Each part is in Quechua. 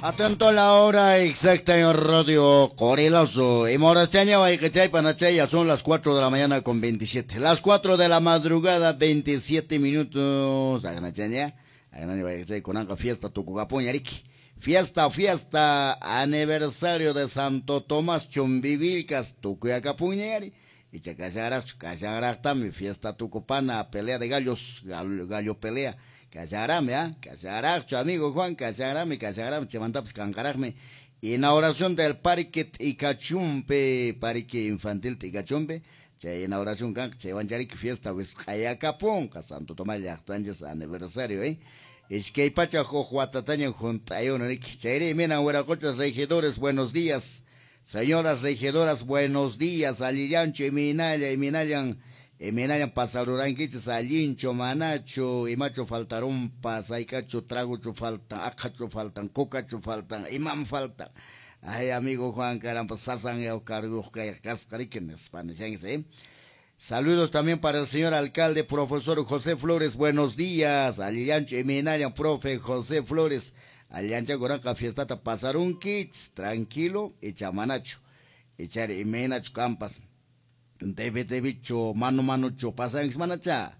Atento a la hora exacta en Radio Corilazo. Y Morachaña, ya son las 4 de la mañana con 27. Las 4 de la madrugada, 27 minutos. Fiesta Tucucapuñariki. Fiesta, fiesta, aniversario de Santo Tomás Chumbivilcas, Tucuyacapuñari. Y Chacasharach, fiesta Tucupana, pelea de gallos, gallo pelea. Casarame, ¿ah? Casaracho, amigo Juan, casarame, casarame, chemantapas cancarajme. Inauguración del Parque Ticachumpe, Parque Infantil Ticachumpe. Chay inauguración kan, chaywancharik fiesta wisq'ayakapunqa, Santo Tomás llaqtanchis aniversario, ¿eh? Iskay pacha huk watataña junt'ayuna riki. Chayri minan wiraquchas regidores, buenos días. Señoras regidoras, buenos días. Allillancho, iminalla, iminallan. Emenallan pasarurankichis allincho, manacho, imacho faltarón, pasaycacho, tragocho faltan, acacho faltan, cocacho faltan, imam faltan. Ay, amigo Juan, caramba, sasan cargo Saludos también para el señor alcalde, profesor José Flores, buenos días. Alillancho, emenallan, profe José Flores. Alillancha, goranca, fiestata, pasarunkichis, tranquilo, echamanacho, echar emenacho campas. Debe, mano, mano, pasan, manacha.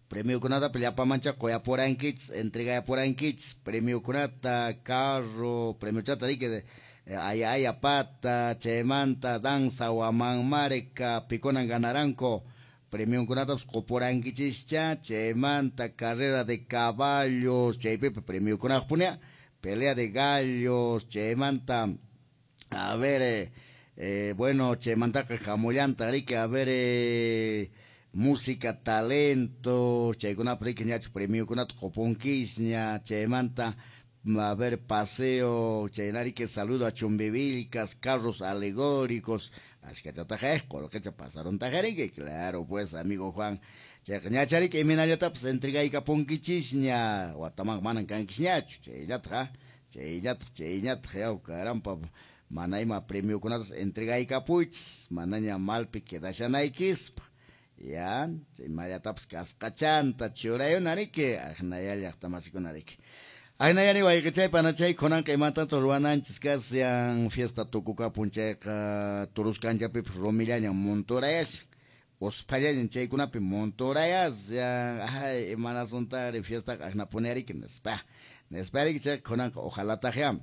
Premio kunata, pelea mancha, coya por anquits, entrega por anquits, premio kunata, carro, premio chata, que ay, ay, pata, chemanta, danza, guamán, mareca, piconan, ganaranco, premio kunata, por anquichis, cha, chemanta, carrera de caballos, cheipepe, premio kunata, pelea de gallos, chemanta, a ver, bueno, chemantaca jamollanta, rique, a ver, música, talento, chaykuna rique, ñacho, premio kunata, coponquisña, chemanta, a ver, paseo, chaynarique, saludo a Chumbivilcas, carros alegóricos, así que pasaron tajarique, claro, pues, amigo Juan, ñacharique, iminallata, pues, entregaica ponquichisña, guatamán, manan canquisñacho, chaynatja, chaynatja, chaynatja, yau, carampa, manaima premio kunatas entregaykapuchis, manaña malpi quedashanaykispa, ya, chaymayatapas kasqachanta churayunariki, aqnaya llaqtamasikunariki. Aynayani wayqichay panachay kunanqa imatanto ruwananchis kasyan fiesta tukukapun chayqa turuskanchapipas rumillañan montorayashan, usphallañan chaykunapi montorayashan, ay imanasuntari fiestaqa aqnapunariki nispa, nispariki chayqa kunanqa ojalataqyam.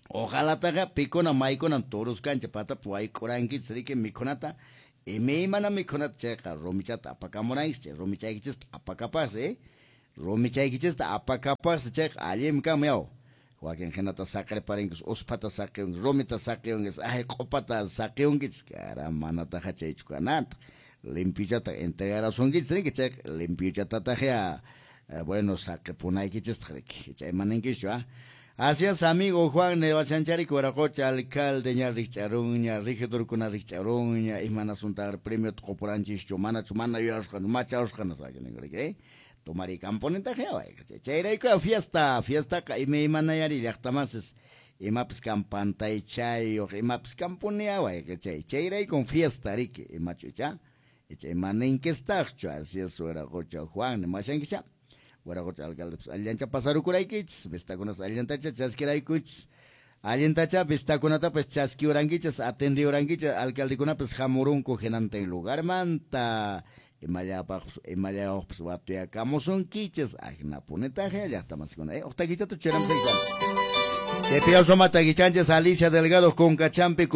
Ojalá picona maicona toruscancha pata wayk'urankichis riki mikhunata imaymana mikhunata chayqa rumichata apakamurankichis rumichaykichista apakapaqsi rumichaykichista apakapaqsi chayqa allinmi kanman yaw wakin hinata saqirparinkichis usphata saqiyunkichis rumita saqiyunkichis ay q'upata saqiyunkichis cara manataqa chaychu kananta limpichata entregarasunkichis riki chayqa limpichatataqya bueno saqipunaykichistaq riki chaymaninkichu ah. Así es, amigo Juan Nevachanchari, Cueracocha, alcalde, ña richarunña, regidor kuna richarunña, imanasuntar premio tocoporanchicho, mana chumana yashkan, macha oshkan, saben, tomari camponenta chayrayku fiesta, fiesta, imaymanayari llaqtamasis, imapis kampantaychayuq, imapis kampunia, chay, chayrayku fiesta, riki, imachucha, imaninquistaqchu, así es, Cueracocha, Juan, mashankicha. Waracocha alcalde, pues allancha pasarukuraykichis, vistakunas allantacha chaskiraykuchis, allantacha vistakunata pues chaskiurankichis, atendiurankichis, alcaldekunapas hamurunku hinantin lugarmanta, imallapaq imallayuqpas watuyakamusunkichis, ajnapunitaqa llaqtamasikuna, uqtakichata churamtaykan. Te pido soma taquichanches Alicia Delgado con Cachampi.